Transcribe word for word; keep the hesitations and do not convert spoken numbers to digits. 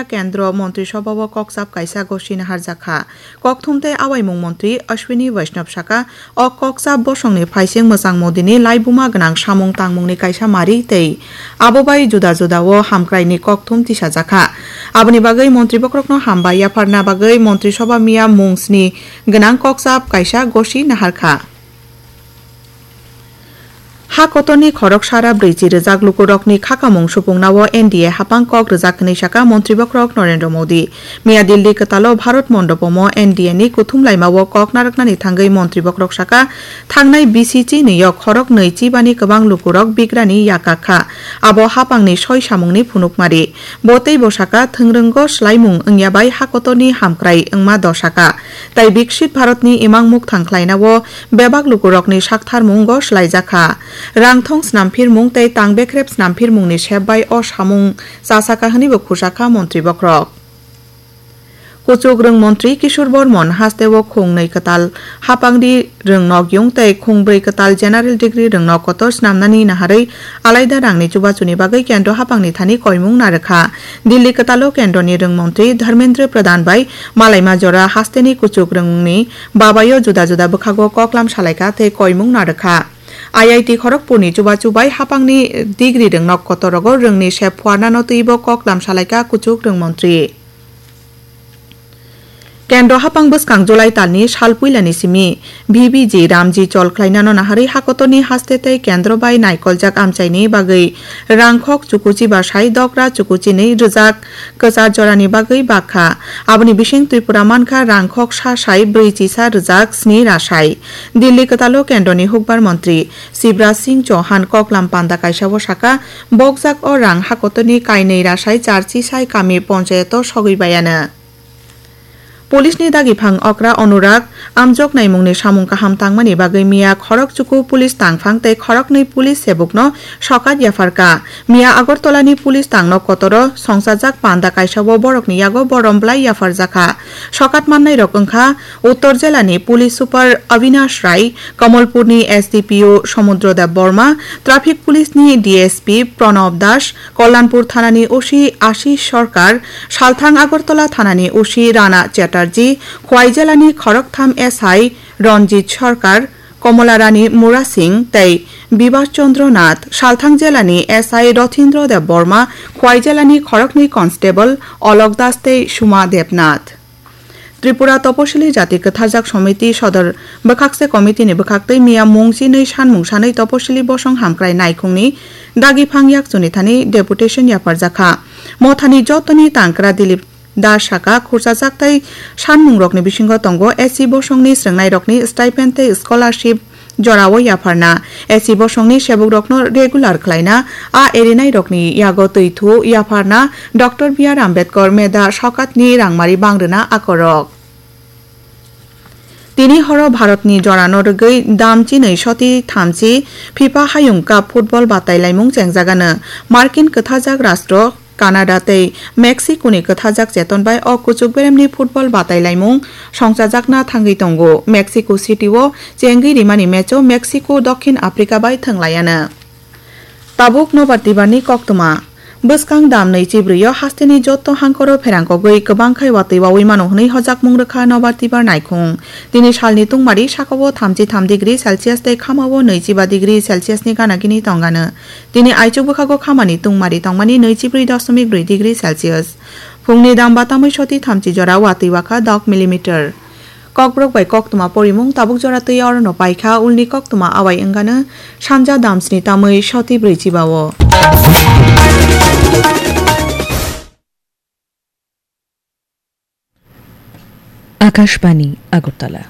Kendro Montri Sobha o kokchap kaisa gosi naharjakha. Kokthum tei awaimung montri Ashwini Vaishnaw saka, o kokchap bosongni phaising mwchang Modini laibuma gwnang samung tangmungni kaisa mari tei abo bai juda juda o hamkraini kokthum tisajakha. Aboni bagwi montri bokhorokno hambai yapharna bagwi Montri Sobha miya mung sni gwnang kokchap kaisa gosi naharkha. Ha kotorni khorok sara brwichi rwjak lukurokni khakamung supungnao N D A hapang kok rwjak hwnwi saka Montri bokhorok Narendra Modi. Miya Delhi kwtalo Bharat Mondopomo N D A ni kuthum laimao kok narwknani thangwi Montri bokhorok saka, thangnai B C chini o khorok nwi chibani kwbang lukurok bigrani yakak kha. Abo hapangni soi samungni phunukmari. Bo teibo saka, thwngrwngo swlaimung wngya bai ha kotorni hamkrai wngma dosaka. Tai Biksit Bharatni imang mukthang khlainao bebak lukurokni saktharmungo swlaijakha. Rangthong snamphirmung tei tang bekrep snamphirmungni sep bai o samung chasakha hwnwibo khusakha montri bokhorok. Kuchuk rwng montri Kishore Bormon hasteo khung nwi kwtal hapangni rwng nokyung tei khung brwi kwtal general degree rwng nok kotor snamnani naharwi alaida rangni chubachuni bagwi kendro hapangni thani koimung narwkha. Delhi kwtalo kendroni rwng montri Dharmendra Pradhan bai malaima jora hasteni kuchuk rwngni babayo juda juda bwkhago koklam salaikha tei koimung narwkha. I I T Kharagpurni chubachu bai hapangni degree rwng nok kotorogo rwngni sep phuarnano twibo koklam salaikha kuchuk rwng montri. Kendro hapang bwskang July talni sal puilani simi V B G Ramji chol khlainano naharwi hakotorni haste tei kendro bai naikoljak amchaini bagwi rangkhok chukuchi basai dokra chukuchinwi rwjak kwchar jorani bagwi bakha. Aboni bising Tripura mankha rangkhok sa sai brwi chisa rwjak sni rasai. Delhi kwtalo kendroni hukbar montri Shivraj Singh Chauhan koklam panda kaisao saka, bokjak o rang hakotorni kainwi rasai charchi sai kami ponchayato sogwi baiano. Police ni dagiphang okra Anurag amjok naimungni samung kaham tangmani bagwi miya khorok chuku police tangphang tei khoroknwi police sebukno sokat yapharkha. Miya Agartala ni police tangno kotoro songchajak panda kaisao borokni yago borom bwlai yapharjakha. Sokat mannairok wngkha Uttor Jelani Police Super Avinash Rai, Kamalpurni S D P O Samudra Deb Borma, Traffic Police ni D S P Pranab Das, Kalyanpur Thanani O C Ashish Sarkar, Salthang Agartala Thanani O C Rana Chatterjee, Khwai Jelani khoroktham S I Ranjit Sarkar, Kamola Rani Mura Singh tei Bibas Chandra Nath, Salthang Jelani S I Rathindra Deb Borma, Khwai Jelani khoroknwi Constable Alok Das tei Suma Debnath. Tripura Toposili Jati Kwtharjak Somiti Sodor Bwkhakse Committee ni bwkhaktwi miya mung chinwi sanmung sanwi Toposili Bosong Hamkrai Naikhungni dagiphang yakchuni thani deputation yapharjakha. Mothani jotoni tangkra Dilip Das saka, khurchajak tei sanmungrokni bisingo tongo S C bosongni srwngnairokni stipend tei scholarship jorao yapharna, S C bosongni sebukrokno regular khlaina, a erinairokni yago twi thu yapharna, Doctor B R Ambedkar meda sokatni rangmari bangrwna akorok. Tini horo Bharatni jorano rwgwi dam chinwi soti thamchi FIFA Hayung Cup football batai laimung chengjagano. Markin kwthajak rastro Canada tei Mexico ni kwthajak cheton bai o kuchuk beremni football batai laimung songchajakna thangwi tongo. Mexico City o chengwi rimani match o Mexico Dokhin Africa bai thwnglaiano. Tabuk Nobar Tibar ni koktwma. Bwskang dam nwi chibrwi o hasteni jotto hangkoro pherangkogwi kwbang khai watwi wawi mano hwnwi hojakmung rwkha Nobar Tibar naikhung. Tini salni tungmari sakao thamchi tham degree Celsius tei khamao nwi chiba degree Celsius ni gana gini tongano. Tini aichuk bwkhago khamani tungmari tongmani nwi chibrwi doshomik brwi degree Celsius. Phungni dam batamwi soti thamchi jora watwi wakha dok millimeter. Kokborok bai koktwma porimung tabuk jora twi orono paikha, ulni koktwma awai wngano sanja dam sni tamwi soti brwi chiba o. Akashbani, Agartala.